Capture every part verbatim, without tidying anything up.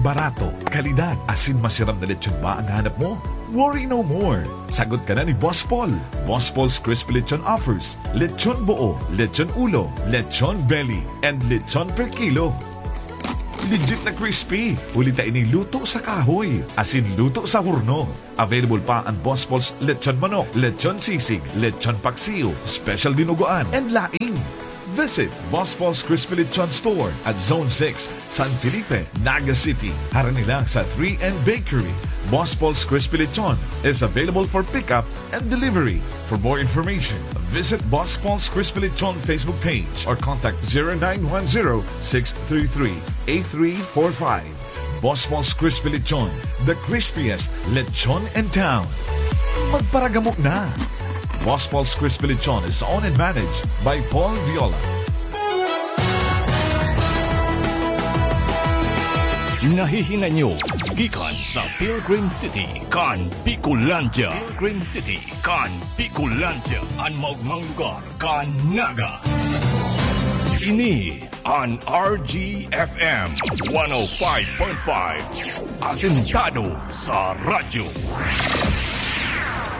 Barato, kalidad, asin masiram na lechon ba ang hanap mo? Worry no more! Sagot ka na ni Boss Paul. Boss Paul's Crispy Lechon offers lechon buo, lechon ulo, lechon belly, and lechon per kilo. Legit na crispy, huli ta ini luto sa kahoy, asin luto sa horno. Available pa ang Boss Paul's Lechon Manok, Lechon Sisig, Lechon Paksiw, Special Dinuguan, and laing. Visit Boss Paul's Crispy Lechon Store at Zone six, San Felipe, Naga City. Harani lang sa three N Bakery. Boss Paul's Crispy Lechon is available for pickup and delivery. For more information, visit Boss Paul's Crispy Lechon Facebook page or contact zero nine one zero, six three three, eight three four five. Boss Paul's Crispy Lechon, the crispiest lechon in town. Magparagamo na! Boss Paul's Crispy Lechon is owned and managed by Paul Viola. Nahihinay nyo gikan sa Pilgrim City, kan Bicolandia. Pilgrim City, kan Bicolandia, an maogmang lugar kan Naga. Ini an R G F M one oh five point five, asentado sa radyo.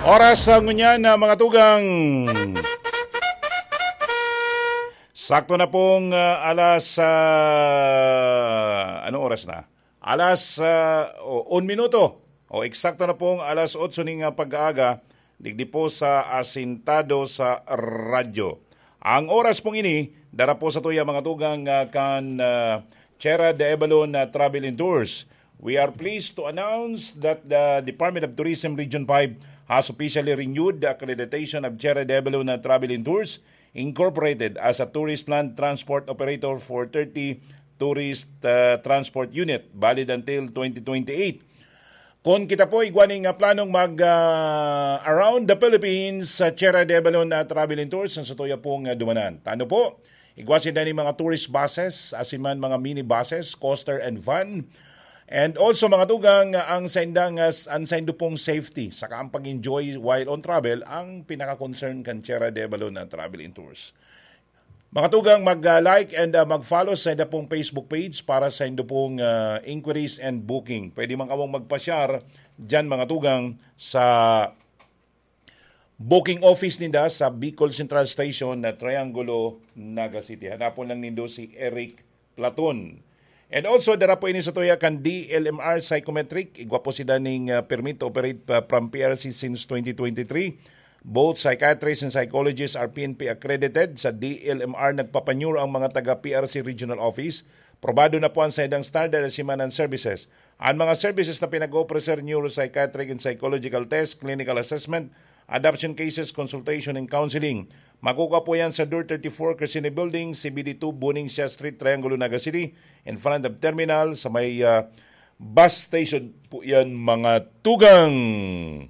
Oras sa ngunyan na mga tugang. Sakto na pong, ah, alas, ah, anong oras na? Alas, ah, o, un minuto. O, eksakto na pong alas otso ning, ah, pag-aaga, digdi po sa Asintado sa Radyo. Ang oras pong ini, dara po sa tuya mga tugang, ah, kan, ah, Chera de Avalon, ah, Travel and Tours. We are pleased to announce that the Department of Tourism Region five has officially renewed the accreditation of Chera de Avalon, ah, Travel and Tours Incorporated as a tourist land transport operator for thirty tourist, ah, transport unit, valid until twenty twenty-eight. Kun kita po igwa ning, ah, planong mag, ah, around the Philippines sa Chera de Avalon, ah, Travel and Tours, ang satuya pong, ah, dumanan. Tano po, igwa sinda ning mga tourist buses, asin man mga mini buses, coaster and van. And also, mga tugang, ah, ang saindang, ah, s-, ang saindo pong safety, saka ang pag-enjoy while on travel, ang pinaka-concern kan Chera de Avalon, ah, Travel and Tours. Mga tugang, mag, ah, like and, ah, mag-follow sa inda pong Facebook page para sa indo pong, ah, inquiries and booking. Pwede man kamong magpasyar diyan, mga tugang, sa booking office ninda sa Bicol Central Station na Triangulo, Naga City. Hanapon lang nindo si Eric Platon. And also, dara po ini sa tuya kan D L M R Psychometric. Igwa po sila ning, ah, permit to operate pa from P R C since twenty twenty-three. Both psychiatrists and psychologists are P N P accredited. Sa D L M R, nagpapanyuro ang mga taga P R C Regional Office. Probado na po ang saindang standard at simanan services. Ang mga services na pinag-oofrecer, neuropsychiatric and psychological test, clinical assessment, adoption cases, consultation and counseling. Makukuha po yan sa Door thirty-four, Crescene Building, C B D two, Buning Siya Street, Triangulo, Naga City, in front of terminal, sa may, ah, bus station po yan, mga tugang.